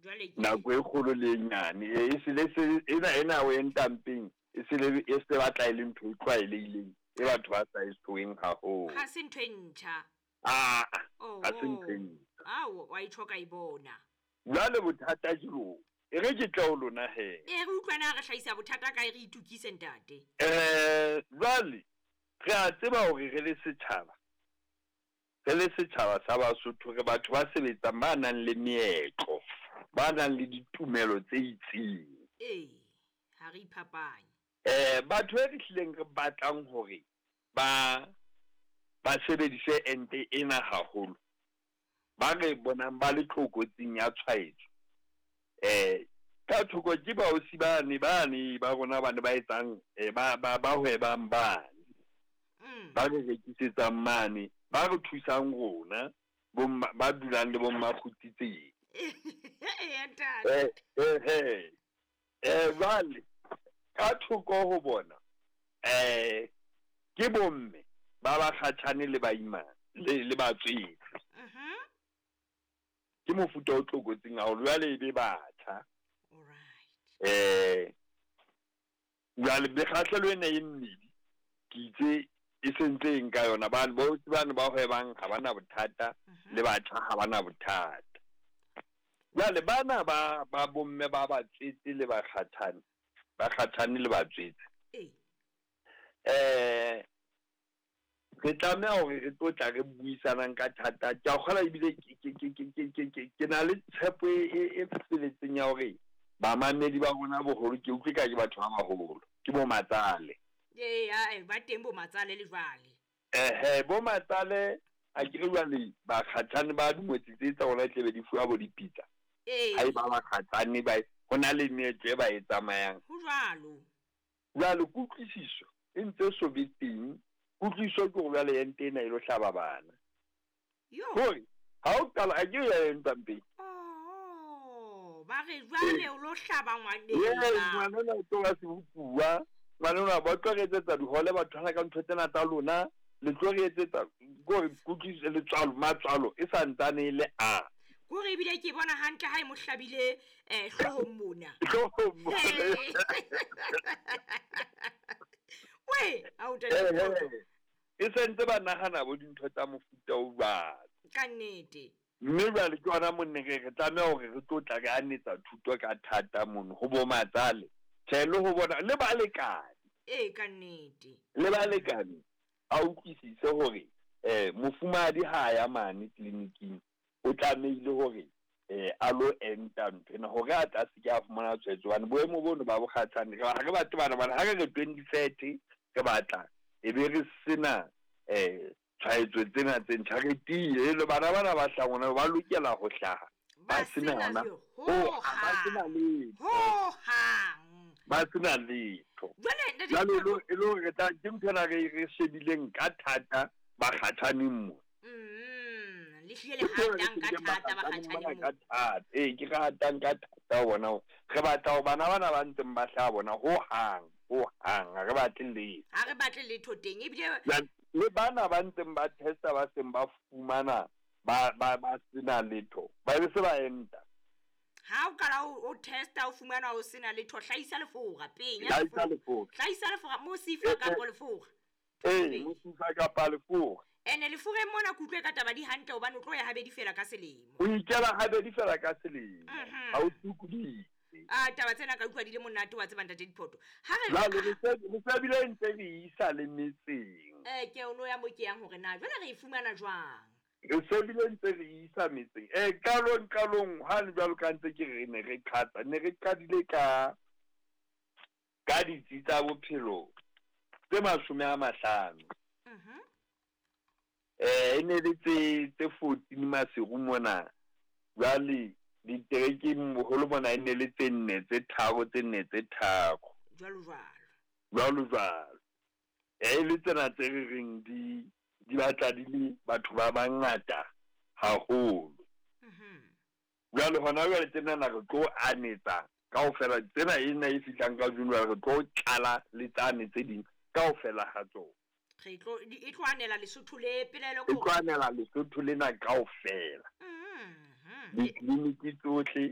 Jwale ke Nako e kgolo le e nyane e se le se ena ena o entang peng e se le e se batla e le ntho e tlwaelehileng e batho ba sa e tshoeng haholo. Ha se ntho e ntjha. Aa, ha se ntho e ntjha. Ao, wa e tjho ka e bona. Jwale bothata ke bo, e re ke tle ho lona he. E re utlwe na re hlahisa bothata kae re itukise ntate. Jwale re a tseba hore re le setjhaba, re le setjhaba sa Basotho re batho ba sebetsang ba nang le meetlo, ba nang le ditumelo tse itseng. Ee, ha re iphapanye. Batho e re hlileng re batlang hore ba ba sebedise ente ena haholo, ba re bonang ba le tlokotsing ya tshwaetso, ka thoko ke baosi bane bane ba rona bane ba etsang ba ba ba hwebang bane, ba re rekisetsang mane, ba re thusang rona bomma ba dulang le bomma kgutsitseng. Eya ntate. Jwale ka thoko ho bona ke bomme ba bakgatjhane le baimana le le batswetse. Ke mofuta o tlokotsing haholo jwale e be batjha. All right. Jwale mekgahlelo ena e mmedi ke itse e sentse e nka yona bane bo bane ba hwebang ha bana bothata le batjha ha bana bothata. Jwale bana ba ba bomme ba batswetse le bakgatjhane, bakgatjhane le batswetse. Re tlameha hore re tlo tla re buisanang ka thata. Ke a kgolwa ebile ke na le tshepo e feletseng ya hore bamamedi ba rona boholo ke utlwe ka ke batho ba baholo, ke bo matsale. Ee, ae, ba teng bo matsale le jwale. Ehe, bo matsale a ke re jwale bakgatjhane ba dingwetsi tse tsa rona tlebe di fuwa bo dipitsa. Ee. Ha e ba bakgatjhane ba ho na le meetlo e ba e tsamayang. Ho jwalo. Jwale kutlwisiso e ntse so be teng. Kutlwisiso ke hore jwale ente ena e lo hlaba bana. Yo. Hore ha o qala a ke ya entang pele. Oh, ba re jwale o lo hlaba ngwanena. Ee, ngwanena o tlo ba sebopuwa. Ngwanena ba tlo re etsetsa dihole ba thwana ka ntho tsena tsa lona. Le tlo re etsetsa kore kutlwisiso letswalo matswalo e sa ntsane e le a. Kore ebile ke bona hantle ha e mo hlabile hloohong mona. Hloohong mona. We, a o ntate. E sentse ba nahana bo dintho tsa mofuta o jwalo. Ka nnete. Mme jwale ke hona monne re tlameha hore re tlo tla re anetsa thuto ka thata mono ho bo matsale. Tjhe, le ho bona le balekane. Ee, ka nnete. Le balekane a utlwisise hore mofumahadi ha ya mane tleliniking o tlamehile hore a lo enta ntho ena hore a tla se ke a fumana tshwaetso hobane boemo bono ba bokgatshane ha re batle bana bana ha re re 2030 re batla e be re sena tshwaetso tsena tse ntjha re tiile le bana bana ba hlahang hona ba lokela ho hlaha ba sena hona ba sena letho hohang ba sena letho. Jwale jwale e le hore tla ke ntho ena re shebileng ka thata bakgatjhaneng mo. Le hlile le hatang ka thata bakgatjhaneng mo. Ka thata. Ee, ke re hatang ka thata bona. Re batla ho bana bana ba ntseng ba hlaha bona hohang, hohang ha re batle letho. Ha re batle letho teng ebile le bana ba ntseng ba testa ba seng ba fumana ba ba ba sena letho ba be se ba enta. Ha o qala o testa o fumana o sena letho, hlahisa lefora penya. Hlahisa lefora. Hlahisa lefora mosifa kapa lefora. Ee, mosifa kapa lefora. Ene leforeng mona ke utlwe ka taba di hantle hobane o tlo ya habedi fela ka selemo. O ikela habedi fela ka selemo. Ha o sokodise. Ah, taba tsena ka utlwa di le monate wa tseba ntate Diphoto. Ha re jwale re se bile ntse re isa le metseng. Ke ono ya mo ke yang hore na jwale re e fumana jwang? Re se bile ntse re isa metseng. Qalong qalong ha le jwalo ka ntse ke re ne re qhatsa, ne re qadile ka ditsi tsa bophelo tse 50. E ne le tse 14 Maseru mona. Jwale diterekeng boholo mona e ne le tse 4 tse 3 tse 4 tse 3. Jwalo jwalo. Jwalo jwalo. E le tsena tse re reng di batla di le batho ba bangata haholo. Jwale hona jwale tsena re tlo anetsa kaofela tsena ena e fihlang ka June re tlo tlala le tsane tse ding kaofela ha tsona. Re tlo e tlo anela Lesotho le pelaelo e tlo anela Lesotho lena kaofela. Ditleliniki tsohle.